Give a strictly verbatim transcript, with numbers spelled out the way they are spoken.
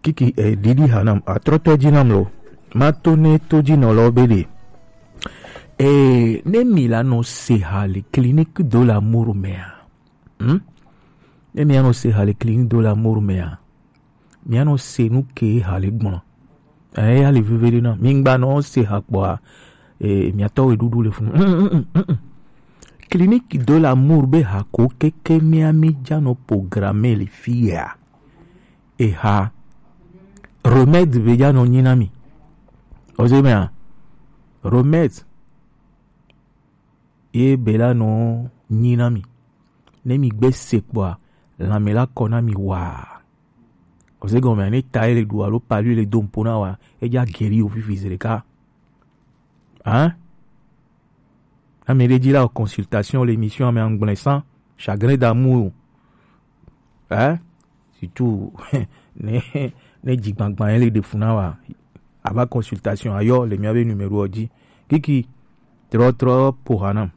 Kiki, eh, didi hanam, atrɔtɔ jinam lo. Mato ne to jinɔ lɔ be de. Eh, ne mi la no se ha le clinique de l'amour mea. Hmm? Ne mi ano se ha le clinique de l'amour mea. Mi ano se nu ke ha le gbɔn. Eh, ya le veve de na. Mi ngba no se ha kpɔa. Eh, mi atɔ we dudu le funu. Mm, mm, mm, mm, mm. Clinique de l'amour be ha ko keke mi ami jano programme le fia. Eha, remède be ja nɔ nyi na mi. Ɔze mea, remède ye be la nɔ nyi na mi. Ne mi gbe se kpɔa, lanme la kɔ na mi wa. Ɔze gɔme ne ta ye le du alo palu ye le do mpo na wa, e ja guéri o fifi zreka. Hein? Ame ɖe dzi la consultation le émission ame angblẽ sans chagrin d'amour. Hein? Surtout ne ne dzigbagba ye le ɖe funa wa. Ava consultation ayɔ le mia be numéro dzi. Kiki trɔ trɔ po hanam.